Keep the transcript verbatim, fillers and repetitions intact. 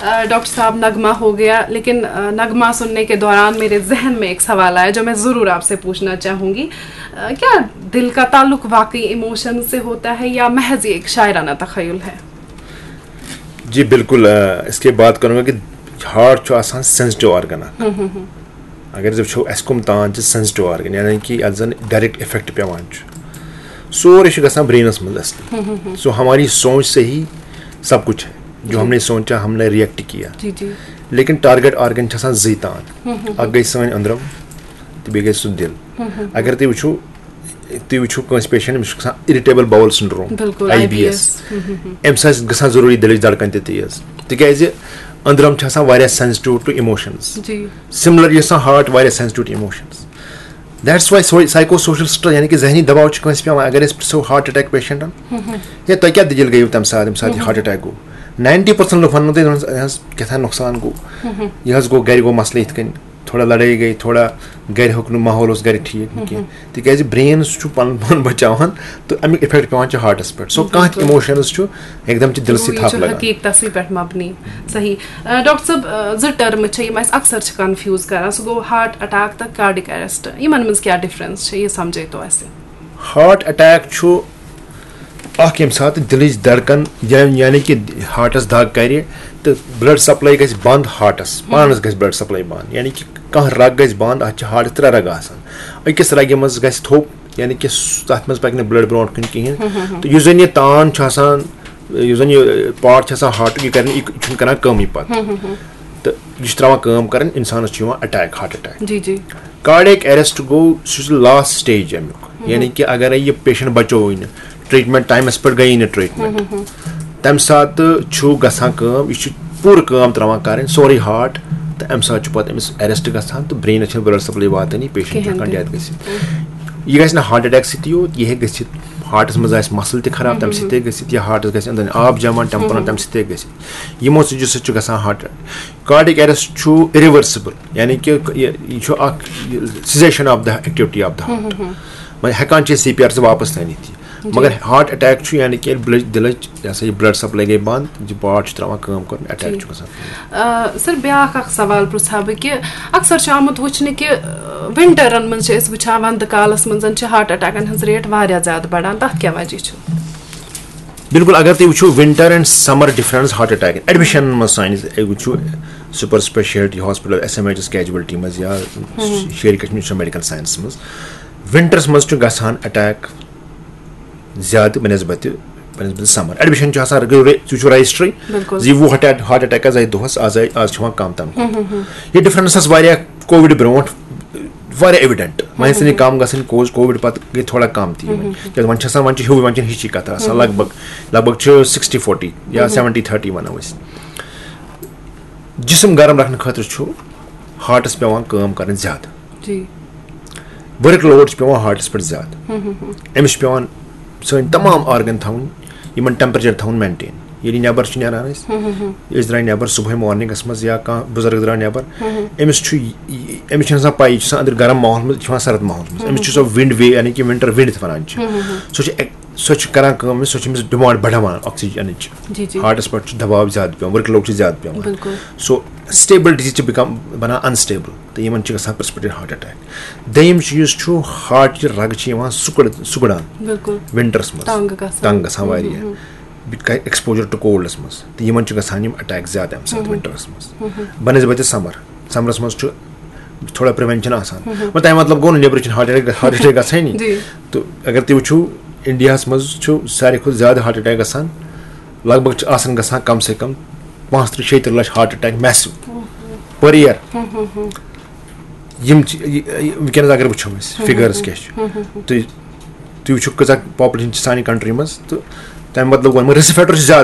Doctor صاحب، نغمہ ہو گیا، لیکن نغمہ سننے کے دوران میرے ذہن میں ایک سوال آیا جو میں ضرور آپ سے پوچھنا چاہوں گی۔ کیا دل کا تعلق واقعی ایموشن سے ہوتا ہے یا محض یہ ایک شاعرانہ تخیل ہے؟ جی بالکل، اس کے بات کروں گا کہ ہارٹ چھُ آسان سینسٹیو آرگن اکھ۔ اگر أسۍ وٕچھو اَسہِ کٕم تان چھِ سینسٹیو آرگن، یعنی کہِ یَتھ زَن ڈائریکٹ افیکٹ پٮ۪وان چھُ، سورُے چھُ گژھان برینَس منٛز اصلی۔ سو ہماری سوچ سے ہی سب کچھ ہے، جو ہم نے سوچا، ہم نے ریئیکٹ کیا۔ جی جی۔ لیکن ٹارگیٹ آرگن چھِ آسان زٕے تان، اکھ گٔے سٲنۍ أنٛدرم تہٕ بیٚیہِ گٔے سُہ دِل۔ اگر تُہۍ وٕچھو، تُہۍ وٕچھِو کٲنٛسہِ پیشنٹ، أمِس چھُ گژھان اِرِٹیبل باول سنڈروم، بالکل، آئی بی ایس۔ اَمہِ سۭتۍ چھِ گژھان ضروٗری دِلٕچ دھڑکن تہِ تیز، تِکیازِ أنٛدرم چھِ آسان واریاہ سینسٹیو ٹو ایموشنز۔ جی۔ سملرلی چھِ آسان ہارٹ واریاہ sensitive to emotions. That's why psycho social stress, یعنی کہِ ذہنی دباو چھُ کٲنٛسہِ پٮ۪وان۔ اگر أسۍ پرٛژھو ہارٹ اٹیک پیشنٹن، ہے تۄہہِ کیٛاہ دٔلیٖل گٔیوٕ تَمہِ ساتہٕ، ییٚمہِ ساتہٕ یہِ ہارٹ اٹیک گوٚو؟ ناینٹی پٔرسنٹ لُکھ وَننو تۄہہِ، دَپان، "حظ، کیٛاہ تام نۄقصان گوٚو، یہِ حظ گوٚو، گرِ گوٚو مسلہٕ یِتھ کٔنۍ، تھوڑا لڑٲے گٔے، تھوڑا گرِ ہیوٚک نہٕ، ماحول اوس گرِ ٹھیٖک نہٕ کینٛہہ۔" تِکیازِ برین سُہ چھُ پَنُن پان بَچاوان تہٕ اَمیُک افیکٹ پٮ۪وان چھُ ہارٹَس پٮ۪ٹھ۔ سو کانٛہہ تہِ ایموشنز چھُ اٮ۪کدم چھِ دِلسٕے یہِ تھپھ چھُ لگان۔ حقیٖقتَسٕے پٮ۪ٹھ مبنی۔ صحیح۔ ڈاکٹر صٲب، زٕ ٹرمہٕ چھِ یِم اَسہِ اکثر چھِ کنفیوز کران، سُہ گوٚو ہارٹ اٹیک تہٕ کارڈک اریسٹ، یِمن منٛز کیٛاہ ڈفرنس چھِ، یہِ سمجھٲیتو اَسہِ۔ ہارٹ اٹیک چھُ اکھ، ییٚمہِ ساتہٕ دِلٕچ دھڑکن یا-، یعنی کہِ ہارٹس دگ کرِ تہٕ بلڈ سپلاے گژھِ بند ہارٹس، پانس گژھِ بلڈ سپلاے بند، یعنی کہِ کانٛہہ رگ گژھِ بند۔ اتھ چھِ ہارٹس ترٛےٚ رگہٕ آسان، أکِس رگہِ منٛز گژھِ تھوٚپ، یعنی کہِ س-، تتھ منٛز پکہِ نہٕ بلڈ برونٛٹھ کُن کِہینۍ۔ تہٕ یُس زن یہِ تان چھُ آسان، یُس زن یہِ پارٹ چھُ آسان ہارٹُک، یہِ کرِ نہٕ، یہِ چھُنہٕ کران کٲمٕے پتہٕ۔ تہٕ یہِ چھُ ترٛاوان کٲم کرٕنۍ، انسانس چھُ یِوان اٹیک، ہارٹ اٹیک۔ جی جی۔ کارڈیک اریسٹ گوٚو، سُہ چھُ لاسٹ سٹیج امیُک، یعنی کہِ اگرے یہِ پیشنٹ بچووٕے نہٕ، ٹریٹمنٹ ٹایمس پٮ۪ٹھ گٔیی نہٕ ٹریٹمنٹ، تمہِ ساتہٕ چھُ گژھان کٲم، یہِ چھُ پوٗرٕ کٲم ترٛاوان کرٕنۍ، سورُے ہارٹ، تہٕ امہِ ساتہٕ چھُ پتہٕ أمِس اریسٹ گژھان تہٕ برینس چھِنہٕ بلڈ سپلاے واتٲنی، پیشنٹ چھُ کِہیٖنۍ ہٮ۪کان تہِ۔ ڈیتھ گٔژھِتھ۔ یہِ گژھِ نہٕ ہارٹ اٹیک سۭتی یوت، یہِ ہیٚکہِ گٔژھِتھ، ہارٹس منٛز آسہِ مسل تہِ خراب، تمہِ سۭتۍ تہِ ہیٚکہِ گٔژھِتھ، یا ہارٹس گژھِ أنٛدرٕ آب جمع، ٹیمپرن، تمہِ سۭتۍ تہِ ہیٚکہِ گٔژھِتھ۔ یِمو چیٖزو سۭتۍ چھُ گژھان ہارٹ۔ کارڈیک اریسٹ چھُ اِریورسِبل، یعنی کہِ یہِ یہِ چھُ اکھ cessation of the activity of the heart. وۄنۍ ہٮ۪کان چھِ أسۍ سی پی آر سۭتۍ واپس تہِ أنِتھ یہِ۔ مگر ہارٹ اٹیک چھُ، یعنی کہِ ییٚلہِ بلڈ، دِلٕچ، یہِ ہسا یہِ بلڈ سپلاے گٔے بنٛد، یہِ پارٹ چھُ ترٛاوان کٲم کرُن، اٹیک چھُ گژھان۔ سر، بیٛاکھ اکھ سوال پرٛژھٕ ہا بہٕ کہِ اکثر چھُ آمُت وٕچھنہٕ کہِ ونٹرن منٛز چھِ أسۍ وٕچھان، ونٛدٕ کالس منٛز چھِ ہارٹ اٹیکن ہٕنٛز ریٹ واریاہ زیادٕ بڑان، تتھ کیٛاہ وجہ چھُ؟ بالکل، اگر تُہۍ وٕچھِو winter and summer difference heart attack admission منٛز سٲنِس، اے، وٕچھِو super specialty hospital, S M H S casualty منٛز یا شیرِ کشمیر میڈیکل ساینس منٛز، ونٹرس منٛز چھُ گژھان اٹیک زیادٕ بنسبت، بنسبت سمر۔ ایڈمشن چھُ آسان، تُہۍ وٕچھِو رجسٹری، بالکل۔ زِ وُہ ہارٹ اٹیک آز آیہِ دۄہس، آز آیہِ، آز چھِ یِوان کم تنخواہ۔ یہِ ڈفرنس ٲس واریاہ کووِڈ برونٛٹھ واریاہ ایویڈنٹ، وۄنۍ ٲسۍ نہٕ یہِ کم گژھان، کووِڈ پتہٕ گٔے تھوڑا کم تہِ یِمن۔ کیازِ وۄنۍ چھِ آسان، وۄنۍ چھِ ہیوٗ، وۄنۍ چھِنہٕ ہِشی کتھ آسان، لگ بگ، لگ بگ چھِ سِکِسٹی فورٹی یا سیونٹی تھرٹی ونو أسۍ۔ جسم گرم رکھنہٕ خٲطرٕ چھُ ہارٹس پٮ۪وان کٲم کرٕنۍ زیادٕ۔ جی۔ ؤرٕک لوڈ چھُ پٮ۪وان ہارٹس پٮ۪ٹھ زیادٕ۔ أمِس چھُ پٮ۪وان سٲنۍ تمام آرگن تھاوٕنۍ، یِمن ٹیمپریچر تھاوُن مینٹین۔ ییٚلہِ نٮ۪بر چھِ نیران أسۍ، أسۍ درٛاے نٮ۪بر صبحٲے مارننگس منٛز یا کانٛہہ بُزرگ درٛاو نٮ۪بر، أمِس چھُ یہِ، یہِ، أمِس چھُنہٕ آسان پَیی، یہِ چھُ آسان أنٛدرٕ گرم ماحول منٛز، یہِ چھُ آسان سرد ماحول منٛز۔ أمِس چھُ سۄ ونڈ وے، یعنی کہِ ونٹر ونڈ یَتھ وَنان چھِ۔ سۄ چھِ ایک-، سۄ چھِ کران کٲم، سۄ چھِ أمِس ڈِمانڈ بڑاوان آکسیجنٕچ۔ جی، جی۔ ہارٹس پٮ۪ٹھ چھُ دباو زیادٕ پٮ۪وان، ؤرٕک لوڈ چھُ زیادٕ پٮ۪وان۔ بالکل۔ سو اسٹیبلٹی چھِ become بنان انسٹیبل، تہٕ یِمن چھُ گژھان پرسپیکٹڈ ہارٹ اٹیک۔ دوٚیِم چیٖز چھُ ہارٹ چہِ رگہٕ چھِ یِوان سُکڑ-، سُکڑان۔ بالکل۔ ونٹرس منٛز تنگ گژھان۔ تنگ گژھان واریاہ۔ بیٚیہِ کرِ ایکسپوجر ٹو کولڈس منٛز، تہٕ یِمن چھُ گژھان یِم اٹیک زیادٕ امہِ ساتہٕ ونٹرس منٛز بنسبت سمر۔ سمرس منٛز چھُ تھوڑا پریونشن آسان۔ مگر تَمیُک مطلب گوٚو نہٕ نیٚبرٕ چھِنہٕ ہارٹ اٹیک، ہارٹ اٹیک گژھٲنی۔ جی۔ تہٕ اگر تُہۍ وٕچھِو، انڈیاہس منٛز چھُ ساروی کھۄتہٕ زیادٕ ہارٹ اٹیک گژھان، لگ بگ چھِ آسان گژھان کم سے کم پانٛژھ تٕرٛہ شیٚیہِ تٕرٛہ لچھ ہارٹ اٹیک میسو پر ایئر۔ یِم چھِ، یہِ، یہِ، وٕنکیٚنَس اگر وٕچھو أسۍ فِگٲرٕس کیٛاہ چھِ، تُہۍ، تُہۍ وٕچھِو کۭژاہ پاپولیشن چھِ سانہِ کنٹری منٛز، تہٕ تَمہِ بدلہٕ گوٚو رِسک فیکٹر چھُ زیادٕ